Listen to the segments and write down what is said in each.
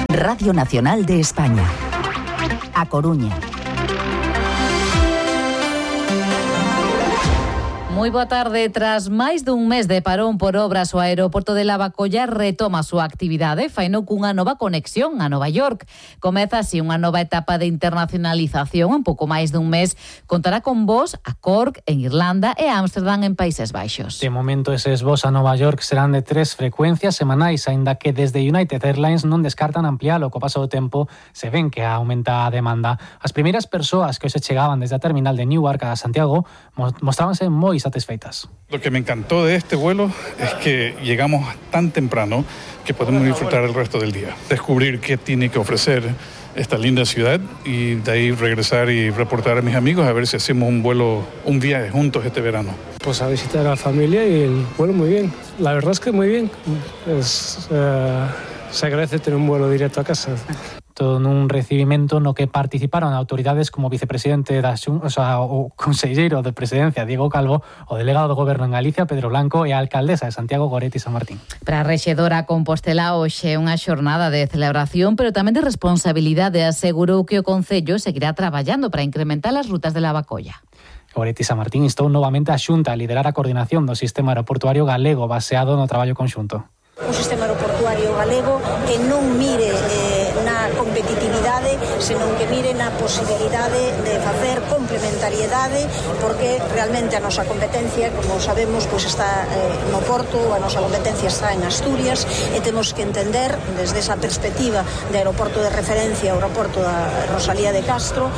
Radio Nacional de España. A Coruña. Moi boa tarde. Tras máis dun mes de parón por obras, o aeroporto de Lavacolla retoma a súa actividade, faino cunha nova conexión a Nova York. Comeza así unha nova etapa de internacionalización. En pouco máis dun mes contará con voos a Cork, en Irlanda, e a Ámsterdam, en Países Baixos. De momento, eses voos a Nova York serán de 3 frecuencias semanais, aínda que desde United Airlines non descartan amplialo. Co paso do tempo se ven que aumenta a demanda. As primeiras persoas que hoxe chegaban desde a terminal de Newark a Santiago mostrábanse moi satisfeitas. Lo que me encantó de este vuelo es que llegamos tan temprano que podemos disfrutar el resto del día. Descubrir qué tiene que ofrecer esta linda ciudad y de ahí regresar y reportar a mis amigos a ver si hacemos un viaje juntos este verano. Pues a visitar a la familia y el vuelo muy bien. La verdad es que muy bien. Se agradece tener un vuelo directo a casa. Todo nun recibimento no que participaron autoridades como vicepresidente o conselleiro de Presidencia Diego Calvo, o delegado do Goberno en Galicia Pedro Blanco e a alcaldesa de Santiago Goretti San Martín. Para a rexedora Compostela hoxe unha xornada de celebración, pero tamén de responsabilidade. Asegurou que o Concello seguirá traballando para incrementar as rutas de Lavacolla. Goretti San Martín instou novamente a Xunta a liderar a coordinación do sistema aeroportuario galego baseado no traballo conxunto. Un sistema aeroportuario galego que non mire na competitividade, senón que mire na posibilidade de facer complementariedade, porque realmente a nosa competencia, como sabemos, pois está no Porto, a nosa competencia está en Asturias, e temos que entender, desde esa perspectiva de aeroporto de referencia, o aeroporto da Rosalía de Castro,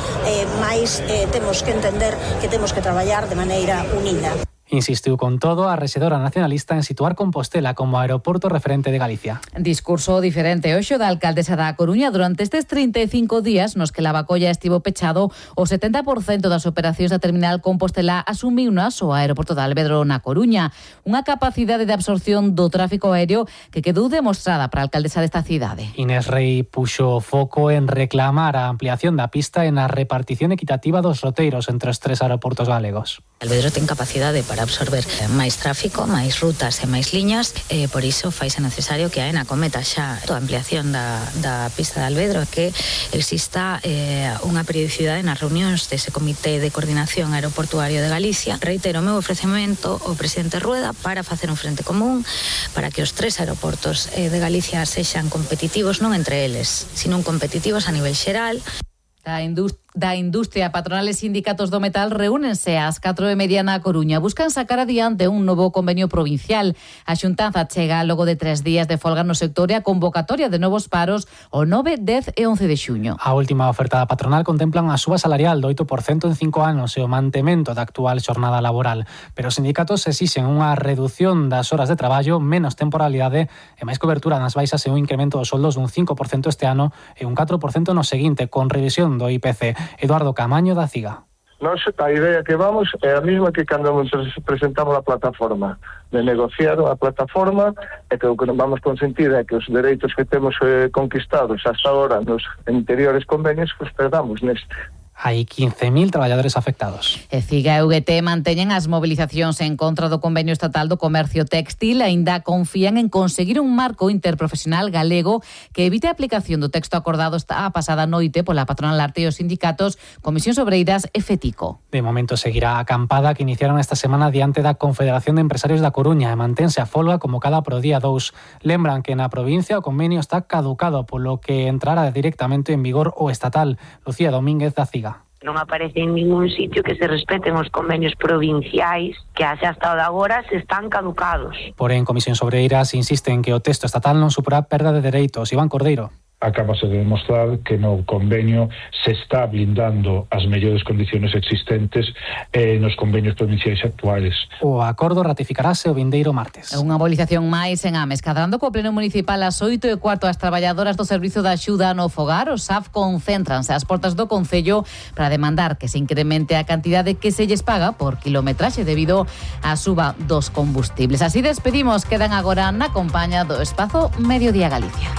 mais temos que entender que temos que traballar de maneira unida. Insistiu con todo a rexedora nacionalista en situar Compostela como aeroporto referente de Galicia. Discurso diferente hoxe da alcaldesa da Coruña. Durante estes 35 días nos que Lavacolla estivo pechado, o 70% das operacións da terminal Compostela asumiunas o aeroporto de Alvedro na Coruña. Unha capacidade de absorción do tráfico aéreo que quedou demostrada para a alcaldesa desta cidade. Inés Rei puxo foco en reclamar a ampliación da pista e na repartición equitativa dos roteiros entre os 3 aeroportos galegos. Alvedro ten capacidade para absorber máis tráfico, máis rutas e máis liñas, e por iso faise necesario que a AENA cometa xa a ampliación da pista de Alvedro, que exista unha periodicidade nas reunións dese Comité de Coordinación Aeroportuario de Galicia. Reitero o meu ofrecemento ao presidente Rueda para facer un frente común para que os 3 aeroportos de Galicia sexan competitivos, non entre eles, sino competitivos a nivel xeral. Da industria, patronales e sindicatos do metal reúnense ás 4:30 na Coruña. Buscan sacar adiante un novo convenio provincial. A xuntanza chega logo de 3 días de folga no sector e a convocatoria de novos paros o 9, 10 e 11 de xuño. A última oferta da patronal contempla unha suba salarial do 8% en 5 anos e o mantemento da actual xornada laboral. Pero os sindicatos exixen unha reducción das horas de traballo, menos temporalidade e máis cobertura nas baixas e un incremento dos soldos dun 5% este ano e un 4% no seguinte, con revisión do IPC. Eduardo Camaño da CIGA. Nos, a idea que vamos é a mesma que cando presentamos a plataforma, de negociar a plataforma, e que o que vamos consentir é que os dereitos que temos conquistados hasta ahora nos anteriores convenios, pues perdamos neste. Hai 15.000 traballadores afectados. E CIGA e UGT manteñen as mobilizacións en contra do convenio estatal do comercio textil. Aínda confían en conseguir un marco interprofesional galego que evite a aplicación do texto acordado esta pasada noite pola patronal Arte e os sindicatos Comisións Obreiras e FETICO. De momento seguirá a acampada que iniciaron esta semana diante da Confederación de Empresarios da Coruña e mantense a folga convocada pro día 2. Lembran que na provincia o convenio está caducado, polo que entrará directamente en vigor o estatal. Lucía Domínguez da CIGA. Non aparece en ningún sitio que se respeten os convenios provinciais que hasta agora se están caducados. Porén, Comisións Obreiras insisten que o texto estatal non supera perda de dereitos. Iván Cordeiro. Acabase de demostrar que no convenio se está blindando as mellores condiciones existentes nos convenios provinciais actuales. O acordo ratificarase o vindeiro martes. Unha movilización máis en Ames, cadrando co pleno municipal ás 8:15 as traballadoras do Servizo de Axuda no Fogar, o SAF, concéntranse ás portas do Concello para demandar que se incremente a cantidade que se lles paga por kilometraxe debido á suba dos combustibles. Así despedimos, quedan agora na compaña do Espazo Mediodía Galicia.